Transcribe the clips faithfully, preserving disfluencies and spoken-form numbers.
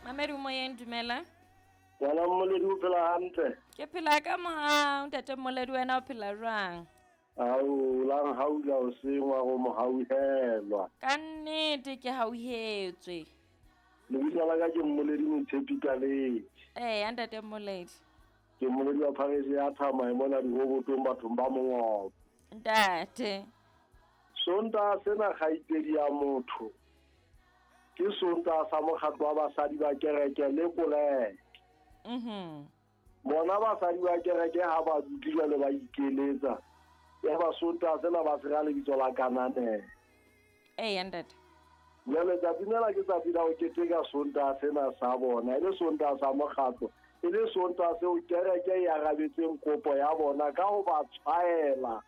Mamedi o moyeng, dumela. Ngwana Mmoledi, o phela hantle? Ke phela ka mohau, ntate Mmoledi, wena o phela jwang? Ao, lang haula o sengwa go mo hauhelwa. Ka nnete ke hauhetswe. Lebitso la ka ke Mmoledi Moitshepi Kaledi. Ee, ntate Mmoledi. Ke Mmoledi wa phareše ya Thamae mona dirobotong bathong ba Mongobo. Ntate. Sontaha sena kgaitsedi ya motho ke Sontaha sa mokgatlo wa basadi ba kereke le koleke. Mhm. Bona basadi ba kereke ha ba dutse jwale ba ikeletsa. Ya ba Sontaha sena ba se ra lebitso la Kananelo. Ee, ntate. Jwale tsatsi lena ke tsatsi la ho keteka Sontaha sena sa bona, e le Sontaha sa mokgatlo, e le Sontaha seo kereke e arabetseng kopo ya bona ka ho ba tshwaela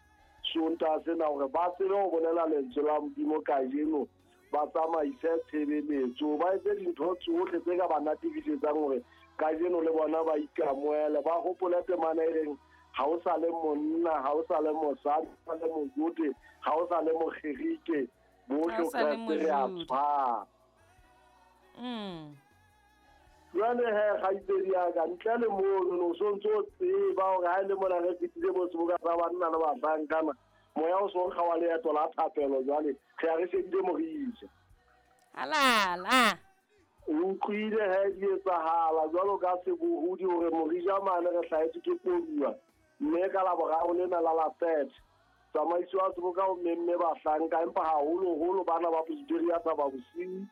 Sontaha sena hore ba tsebe ho bolela lentswe la Modimo kajeno, ba tsamaise tshebeletso, ba etse dintho tsohle tse ka ba natefisetsang hore kajeno le bona ba ikamohele, ba hopole temana e reng ha o sa le monna, ha o sa le mosadi, ha o sa le Mojude, ha o sa le Mogerike, bohle Ha o sa le Kreste re a Mojude. tshwana. Mm. Jwale he, kgaitsedi ya ka, ntle le mono, o so ntso o tseba hore ha e le mona re fetile bo seboka sa banna le bahlankana, moya o so nkga wa leeto la thapelo jwale, re ya re shebile Morija. Halala. O utlwile he di etsahala jwalo ka sebohodi hore Morija mane re hlahetswe ke koduwa, mme ka Laboraro lena la la third, tsamaiso ya seboka o memme bahlanka, empa haholoholo bana ba Presbyteria Thaba Bosiu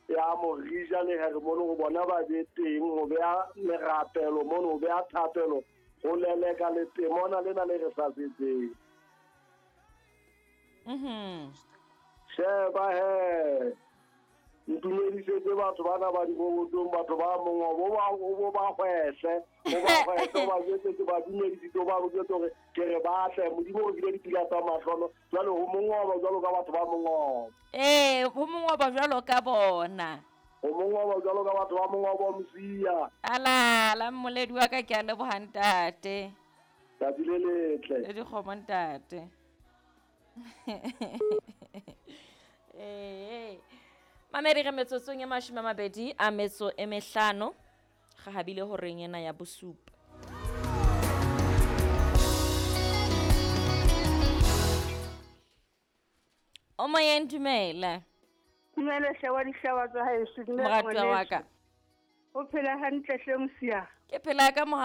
ya Morija le Hermone ho bona ba be teng ho beha merapelo mono, ho beha thapelo, ho leleka letemona lena le re hlasetseng. Mhm. Sheba he, ntumedisetse batho bana ba dirobotong, batho ba Mongobo, o ba, o ba hwehle, o ba hwehle, o ba jwetse ke ba dumedisitse, o ba jwetse hore ke re batle, Modimo o re file dipula tsa mahlono, jwale ho Mongobo jwalo ka batho ba Mongobo. Ee, ho Mongobo jwalo ka bona. Ho Mongobo jwalo ka batho ba Mongobo, Mosia. Alala, Mmoledi wa ka, ke a leboha ntate. Tsatsi le letle. Le dikgomo ntate. Ee. Mamedi, re metsotsong e mashome a mabedi a metso e mehlano, re habile horeng ena ya bosupa. O moyeng, dumela. Dumela hle wa dihlaba tsa haeso, dumela Moratuwa wa ngwaneso. ka. O phela hantle hle Mosia? Ke phela ka mohau.